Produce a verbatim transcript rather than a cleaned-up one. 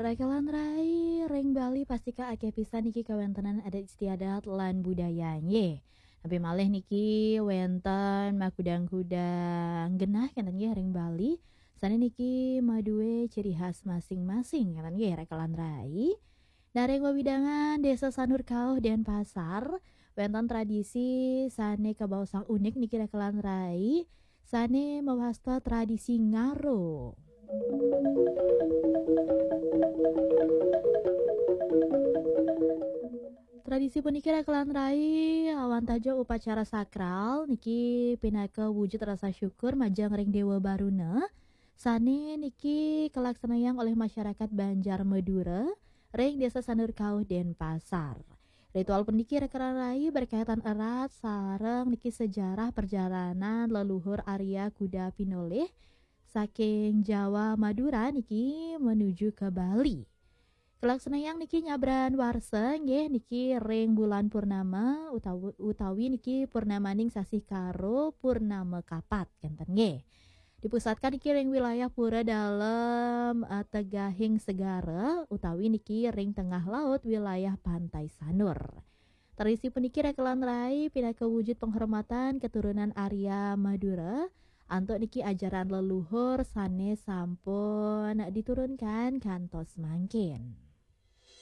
Rekelan rai ring Bali pastika akeh pisan niki kawéntenan adat istiadat lan budaya nggih. Napi malih niki wénten makudang-kudang genah kénten nggih ring Bali. Sané niki madué ciri khas masing-masing kénten nggih rekelan rai. Nah, ring wewidangan Désa Sanur Kauh Denpasar, wénten tradisi sané kabaosang unik niki rekelan rai, sané mawasta tradisi ngaro. Tradisi puniki rekelan rai awantaja upacara sakral niki pinaka wujud rasa syukur majeng ring Déwa Baruna, sané niki kalaksanayang olih masyarakat Banjar Madura ring Désa Sanur Kauh Denpasar. Ritual puniki rekelan rai berkaitan erat sareng niki sejarah perjalanan leluhur Arya Kuda Pinolih saking Jawa Madura niki menuju ke Bali. Kalaksanayang niki nyabran warsa nggih niki ring bulan purnama utawi, utawi niki purnamaning sasih Karo purnama kapat kénten nggih. Dipusatkan niki ring wilayah pura dalem eh, tegahing segara utawi niki ring tengah laut wilayah Pantai Sanur. Tradisi puniki rekelan rai pinaka wujud penghormatan keturunan Arya Madura antuk niki ajaran leluhur sané sampun diturunkan kantos mangkin.